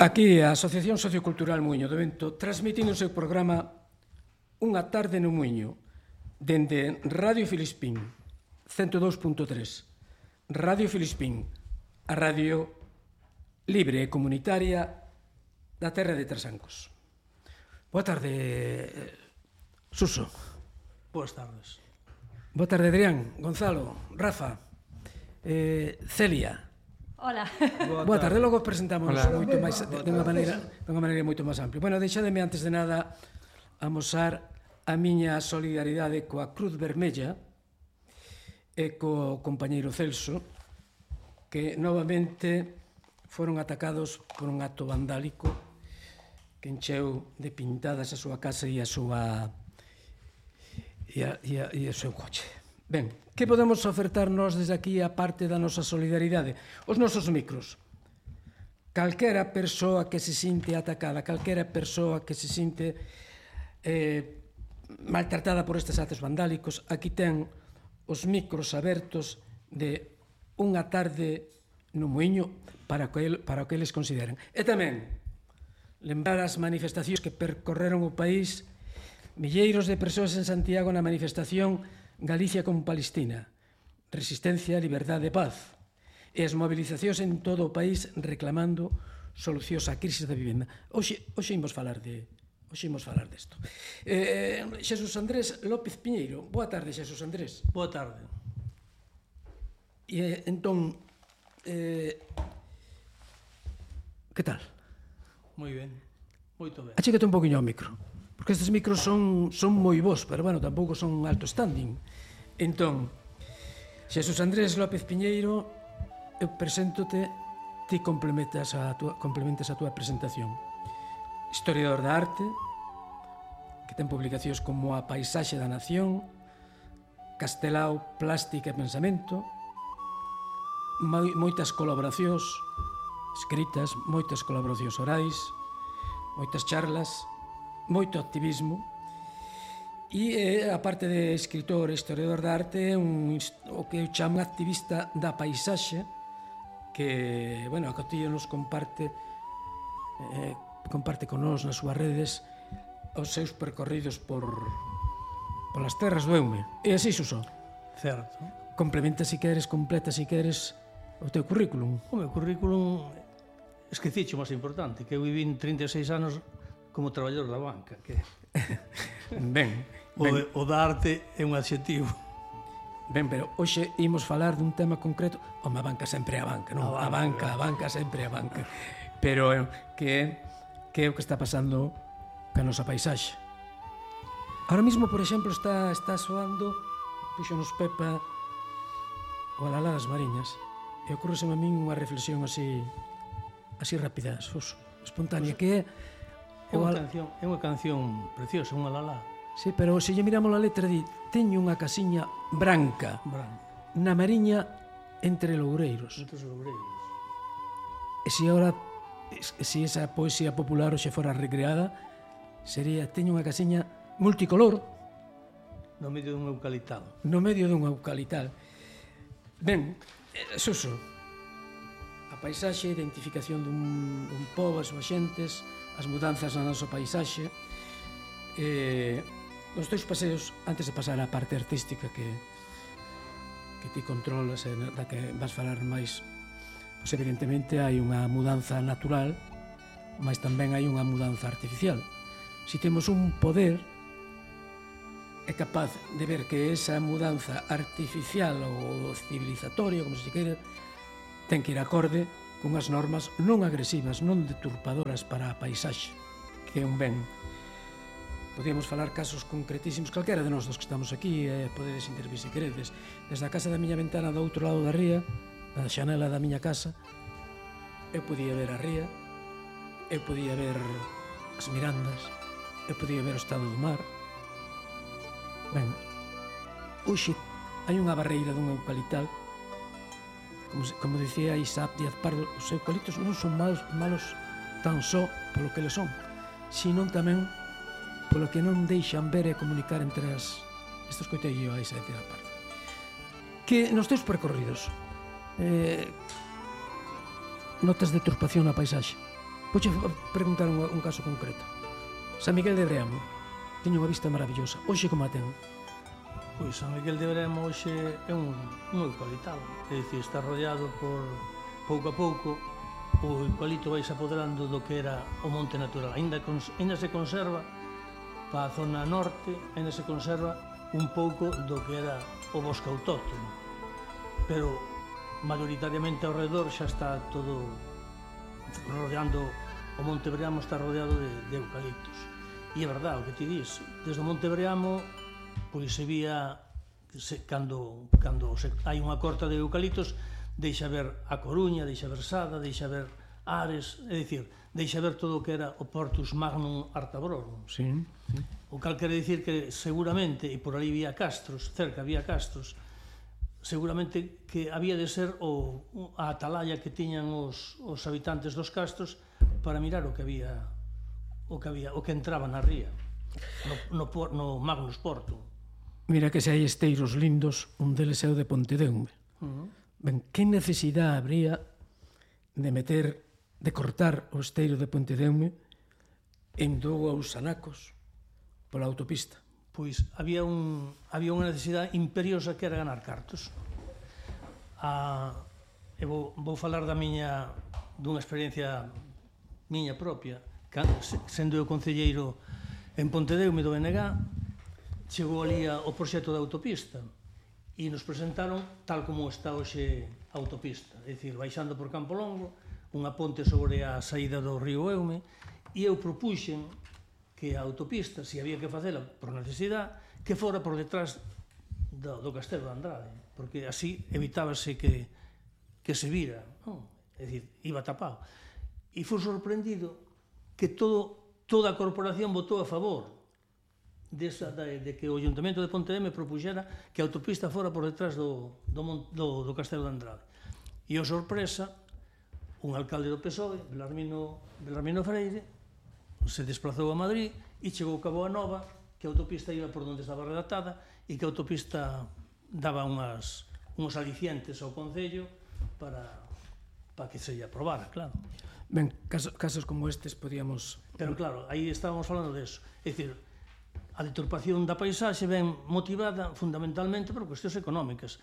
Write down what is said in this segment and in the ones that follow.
Aquí a Asociación Sociocultural Muiño do Vento transmitindo o seu programa Unha tarde no Muiño dende Radio Filispín 102.3, Radio Filispín, a radio libre e comunitaria da terra de Trasancos. Boa tarde, Suso. Boas tardes. Boa tarde, Adrián, Gonzalo, Rafa, Celia. Hola. Boa tarde, logo presentamos moito máis dunha maneira moito máis amplia. Bueno, deixademe antes de nada amosar a miña solidaridade coa Cruz Vermella e co compañeiro Celso, que novamente foron atacados por un acto vandálico que encheu de pintadas a súa casa e a súa e o seu coche. Ben, que podemos ofertarnos desde aquí a parte da nosa solidaridade? Os nosos micros. Calquera persoa que se sinte atacada, calquera persoa que se sinte maltratada por estes actos vandálicos, aquí ten os micros abertos de Unha tarde no Muiño para o que eles consideren. E tamén lembrar as manifestacións que percorreron o país, milleiros de persoas en Santiago na manifestación Galicia con Palestina, resistencia, liberdade e paz, e as movilizacións en todo o país reclamando solucións á crise da vivenda. Hoxe imos falar desto. Xesús Andrés López Piñeiro. Boa tarde, Xesús Andrés. Boa tarde. E entón, que tal? Moi ben, moito ben. Achégate un poquinho ao micro, porque estes micros son moi bons, pero, bueno, tampouco son alto standing. Entón, Xesús Andrés López Piñeiro, eu preséntote, ti complementas a túa presentación. Historiador da arte, que ten publicacións como A paisaxe da nación, Castelao, plástica e pensamento, moitas colaboracións escritas, moitas colaboracións orais, moitas charlas, moito activismo, e a parte de escritor e historiador da arte, o que eu chamo activista da paisaxe, que, bueno, a Cotillo nos comparte con nós nas súas redes os seus percorridos polas terras do Eume. E así, Suso? Certo. Complementa si queres, completa si queres o teu currículum. O meu currículum, esqueciche o máis importante, que eu vivín 36 anos como traballador da banca. Que... Ben. O da arte é un adxetivo. Ben, pero hoxe imos falar dun tema concreto. Home, a banca sempre é a banca, non? A banca sempre é a banca. Pero que é o que está pasando ca nosa paisaxe. Ahora mismo, por exemplo, está soando, puxonos Pepa, o Alalá das Mariñas, e ocurreseme a min unha reflexión así rápida, espontánea, que é... É unha canción preciosa, unha Alalá. Sí, pero se lle miramos a letra, di, teño unha casiña branca na mariña entre loureiros. Entre os loureiros. E se esa poesía popular hoxe fora recreada, sería, teño unha casiña multicolor no medio dun eucalital. No medio dun eucalital. Ben, Suso, a paisaxe, a identificación dun pobo, as súas xentes, as mudanzas na nosa paisaxe, os teus paseos, antes de pasar á parte artística que ti controlas e da que vas falar máis, pois evidentemente hai unha mudanza natural, mas tamén hai unha mudanza artificial. Si temos un poder é capaz de ver que esa mudanza artificial ou civilizatoria, como se queira, ten que ir acorde con as normas non agresivas, non deturpadoras para a paisaxe, que é un ben. Podíamos falar casos concretísimos, calquera de nós dos que estamos aquí, podedes intervir se queredes. Desde a casa da miña ventana do outro lado da ría, da xanela da miña casa, eu podía ver a ría, eu podía ver as mirandas, eu podía ver o estado do mar. Ben, hoxe hai unha barreira dun eucalital, como dicía Isaac Díaz Pardo, os eucaliptos non son malos tan só polo que le son, sino tamén polo que non deixan ver e comunicar entre as... Isto escoitei eu a Isaac Díaz Pardo. Que nos teus percorridos notas deturpación na paisaxe? Vouche preguntar un caso concreto. San Miguel de Breamo teño unha vista maravillosa. Hoxe como a ten? Pois San Miguel de Breamo hoxe é un eucaliptado, é dicir, está rodeado por, pouco a pouco, o eucalipto vai se apoderando do que era o monte natural. Ainda se conserva, para a zona norte, ainda se conserva un pouco do que era o bosque autóctono, pero maioritariamente ao redor xa está todo rodeando, o monte Breamo está rodeado de eucaliptos. E é verdade o que ti dis, desde o monte Breamo pois se vía cando hai unha corta de eucaliptos, deixa ver a Coruña, deixa ver Sada, deixa ver Ares, é dicir, deixa ver todo o que era o Portus Magnum Artabrorum. Sí. O cal quere dicir que seguramente, e por ali había castros, cerca había castros, seguramente que había de ser a atalaya que tiñan os habitantes dos castros para mirar o que entraba na ría, no Magnus Portum. Mira que se hai esteiros lindos, un deles é o de Pontedeume. Ben, que necesidade habría de cortar o esteiro de Pontedeume en dous sanacos pola autopista? Pois había unha necesidade imperiosa que era ganar cartos. Vou falar dunha experiencia miña propia. Sendo eu concelleiro en Pontedeume do BNG, chegou ali o proxecto da autopista e nos presentaron tal como está hoxe a autopista, é dicir, baixando por Campo Longo, unha ponte sobre a saída do río Eume, e eu propuxen que a autopista, se había que facela por necesidade, que fora por detrás do Castelo de Andrade, porque así evitábase que se vira, non? É dicir, iba tapado. E foi sorprendido que toda a corporación votou a favor de que o Ayuntamento de Pontedeume propuxera que a autopista fora por detrás do Castelo de Andrade. E, a sorpresa, un alcalde do PSOE, Belarmino Freire, se desplazou a Madrid e chegou a Cabo a Nova que a autopista iba por onde estaba redactada e que a autopista daba uns alicientes ao Concello para que se lle aprobara, claro. Ben, casos como estes podíamos... Pero claro, aí estábamos falando de eso. É dicir, a deturpación da paisaxe ven motivada fundamentalmente por cuestións económicas,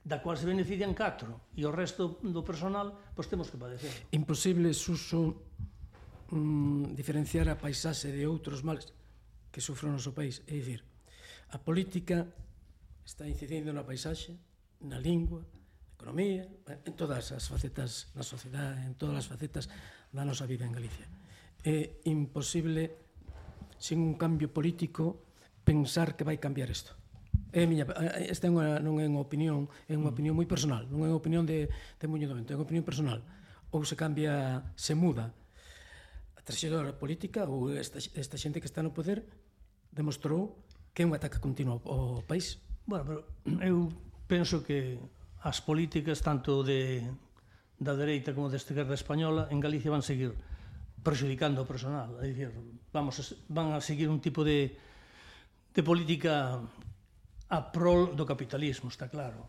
da cual se benefician 4, e o resto do personal, pois temos que padecer. Imposible, Suso, diferenciar a paisaxe de outros males que sufre o noso país. É dicir, a política está incidindo na paisaxe, na lingua, economía, en todas as facetas da sociedade, en todas as facetas da nosa vida en Galicia. É imposible, sin un cambio político, pensar que vai cambiar isto. Esta non é unha opinión, é unha opinión moi personal, non é unha opinión de Muñoz do Vento, é unha opinión personal. Ou se cambia, se muda a traxectoria política, ou esta xente que está no poder demostrou que é un ataque continuo ao país. Bueno, pero eu penso que as políticas tanto da dereita como da esquerda española en Galicia van seguir perxudicando o personal, é dicir, van a seguir un tipo de política a prol do capitalismo, está claro.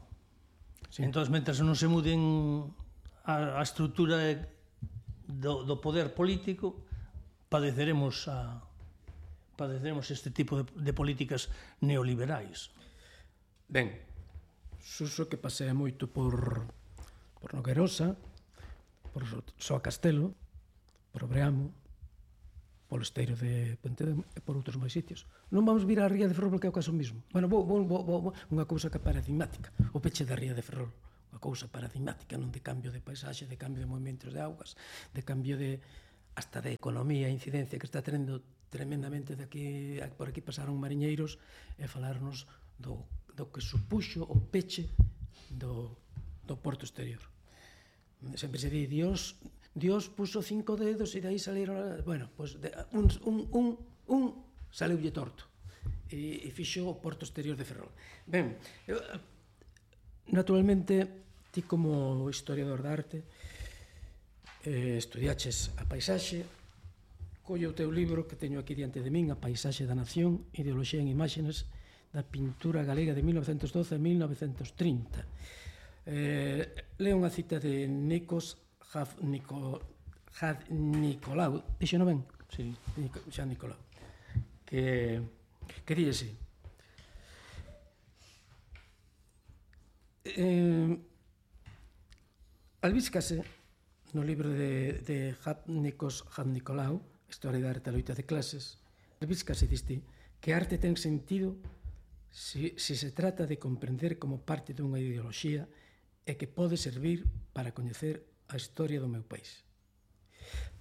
Sí. Entón, mentre non se muden a estrutura do poder político, padeceremos este tipo de políticas neoliberais. Ben, Suso que pasea moito por Noguerosa, por Soa Castelo, por Breamo, polo esteiro de Pontedeume e por outros máis sitios. Non vamos vir á Ría de Ferrol porque é o caso mismo. Bueno, unha cousa que é paradigmática, o peche da Ría de Ferrol, unha cousa paradigmática, non de cambio de paisaxe, de cambio de movimentos de augas, de cambio hasta de economía e incidencia que está tenendo tremendamente por aquí pasaron mariñeiros e falarnos do que supuxo o peche do porto exterior. Sempre se di, Dios puso 5 dedos e de aí salieron... Bueno, pues un saleulle torto e fixo o porto exterior de Ferrol. Ben, naturalmente, ti como historiador de arte estudiaches a paisaxe, colle o teu libro que teño aquí diante de min, A paisaxe da nación, ideoloxía en imágenes da pintura galega de 1912 a 1930. Leo unha cita de Nikos Nicolau, dixo non ben? Sí. Jean Nicolau, que díxese albíscase no libro de Jean Nicolau, Historia da arte a loita de clases, albíscase diste que a arte ten sentido se se trata de comprender como parte dunha ideoloxía e que pode servir para coñecer a historia do meu país.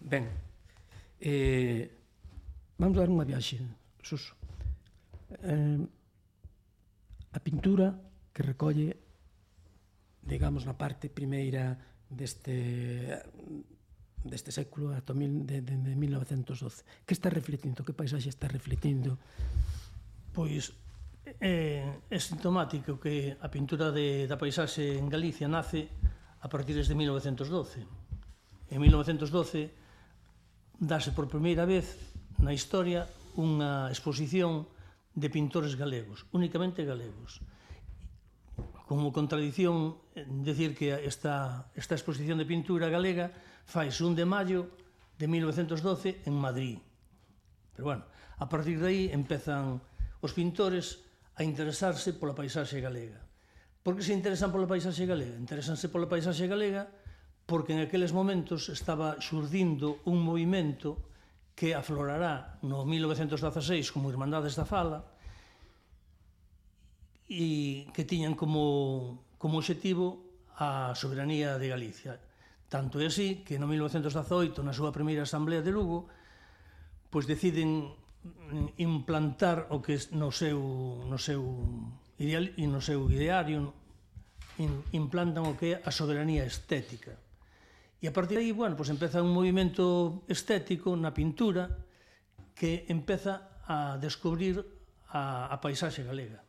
Ben, vamos dar unha viaxe, Suso. A pintura que recolle, digamos, na parte primeira deste século ata de 1912, que está refletindo, que paisaxe está refletindo? Pois é sintomático que a pintura da paisaxe en Galicia nace a partir de 1912. En 1912 dáse por primeira vez na historia unha exposición de pintores galegos, únicamente galegos. Como contradición, decir que esta exposición de pintura galega faise 1 de maio de 1912 en Madrid. Pero, bueno, a partir de aí empezan os pintores a interesarse pola paisaxe galega. Por que se interesan pola paisaxe galega? Interesanse pola paisaxe galega porque en aqueles momentos estaba xurdindo un movimento que aflorará no 1916 como Irmandades da Fala e que tiñan como obxectivo a soberanía de Galicia. Tanto é así que no 1918, na súa primeira asamblea de Lugo, pois deciden implantar o que no seu ideario implantan o que é a soberanía estética. E a partir de aí, bueno, pues empeza un movimento estético na pintura que empeza a descubrir a paisaxe galega.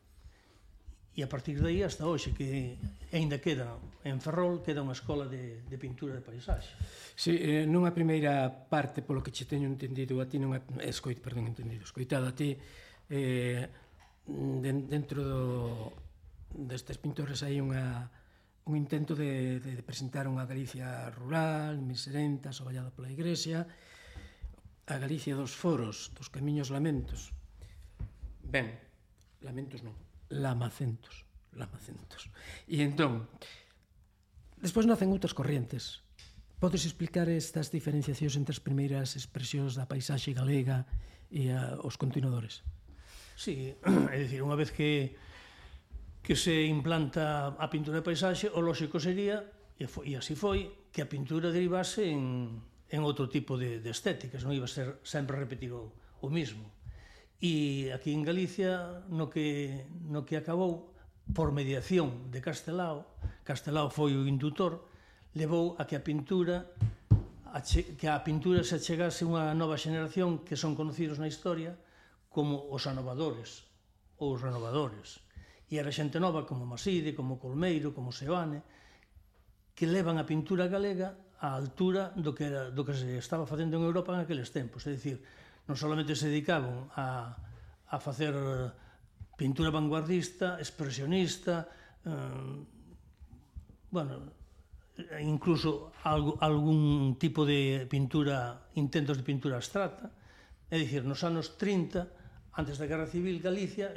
E a partir de aí hasta hoxe, que aínda queda en Ferrol, queda unha escola de pintura de paisaxe. Si, nunha primeira parte, polo que che teño entendido, a ti non é escoitado a ti, dentro destes pintores hai un intento de presentar unha Galicia rural, miserenta, asovallada pola Igrexa, a Galicia dos foros, dos camiños lamentos. Ben, lamentos non, lamacentos. E entón, despois nacen outras corrientes. Podes explicar estas diferenciacións entre as primeiras expresións da paisaxe galega e os continuadores? Sí, é dicir, unha vez que se implanta a pintura de paisaxe, o lóxico sería, e así foi, que a pintura derivase en outro tipo de estéticas, non iba a ser sempre repetir o mismo. E aquí en Galicia, no que acabou, por mediación de Castelao foi o indutor, levou a que a pintura se achegase unha nova xeneración que son conocidos na historia como os anovadores ou os renovadores. E era xente nova como Maside, como Colmeiro, como Seoane, que levan a pintura galega á altura do que se estaba facendo en Europa en aqueles tempos. É dicir, non solamente se dedicaban a facer pintura vanguardista, expresionista, incluso algún tipo de pintura, intentos de pintura abstracta. É dicir, nos anos 30, antes da Guerra Civil, Galicia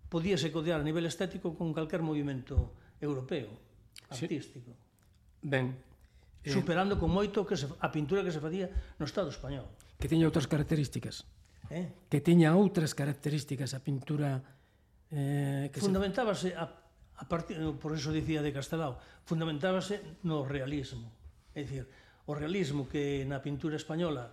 podíase codear a nivel estético con calquer movimento europeo, artístico. Ben. Superando con moito a pintura que se facía no Estado español. Que tiña outras características. Que tiña outras características a pintura fundamentábase a partir, por eso dicía de Castelao, fundamentábase no realismo. É dicir, o realismo que na pintura española